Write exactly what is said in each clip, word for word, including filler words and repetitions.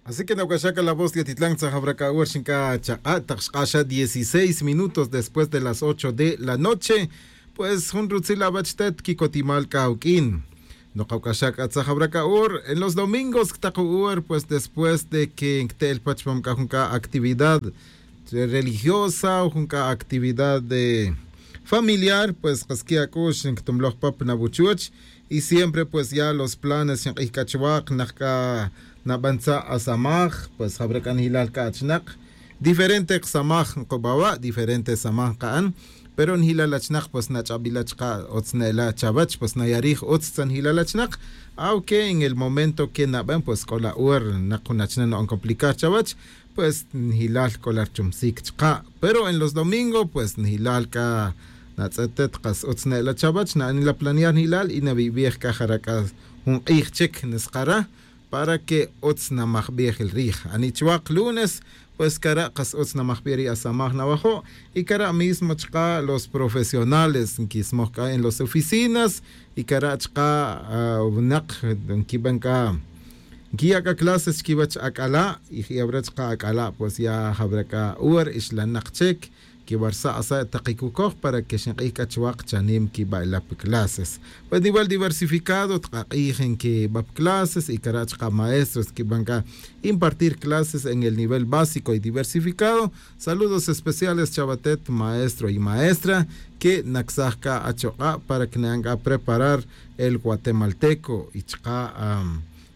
Así que nawc'axac la voz de atitlan tzajawra c'a hora xinc'a chak'a' tak xk'axa dieciséis minutos después de las ocho de la noche. Pues jun rutzil awech tet quicotimal c'a uq'uin. Nokawc'axac c'a tzajawra c'a hora en los domingos ctak hora pues después de que cte'el pach pam c'a jun c'a actividad religiosa o jun c'a actividad de familiar pues kasqui' ac'ux nctumloj pap nawuchuch. Y siempre pues ya los planes xink'ij c'a chuwak nak c'a nabantza'asamaj pues jawra c'a njilal c'a achinak diferente kasamaj nkubawa' diferente samaj nka'an. Pero njilal achinak pues nach'abila' chka' utz ne'ela' chawech pues nayarij utz tza njilal achinak. Aunque en el momento que naben pues c'o la hora nak jun achinak na'on complicar chawech pues njilal c'o la richumsic chka'. Pero en los domingos pues njilal c'a natz'etet kas utz ne'ela' chawech na'anila planear njilal y nawibij c'a jara' c'a jun k'ij chic nskara para que utz namajbij el rij ani chuwak lunes. Pues cara' kas utz namajbij ri asamaj nawajo'. Y cara' mismo chka' los profesionales nkismoj c'a en los oficinas y cara' chka' winak nquiben c'a nquiya' c'a clases chiquiwech ac'ala'. Y je' awra chka' ac'ala' pues ya jawra c'a hora ixlanak chic quiwarsa' asa' tak quicucoj para que xink'ij c'a chuwak chanim quiba' ila pa clases. Pues nivel diversificado tak ak'ij nquiba pa clases y cara' chka' maestros quiben c'a impartir clases en el nivel básico y diversificado. Saludos especiales chawatet maestro y maestra que nacsaj c'a achok'a' para que nayan c'a preparar el guatemalteco y chka'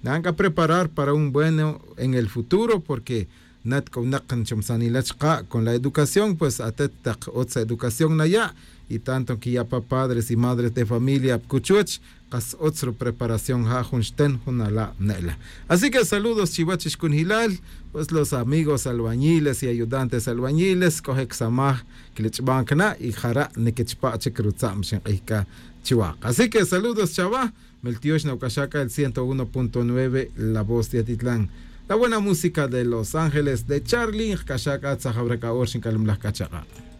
nayan c'a preparar para un bueno en el futuro porque nat c'o winak nchomsanila chka' con la educación pues atet tak utz educación naya'. Y tanto nquiya' pa padres y madres de familia pa cuchuch kas utz rupreparación ja jun xten jun ala' ne'la. Así que saludos chiwech ixcunjilal pues los amigos albañiles y ayudantes albañiles c'o je' csamaj quilich'ban cana' y jara' niquichpa' chic rutza'm xink'ij c'a chiwak. Así que saludos chawa. Meltiox nawc'axa c'a el ciento uno punto nueve la voz de atitlan. La buena música de los ángeles de charlie nkac'axa c'a tzajawra c'a hora xinc'alumlaj c'a chak'a'.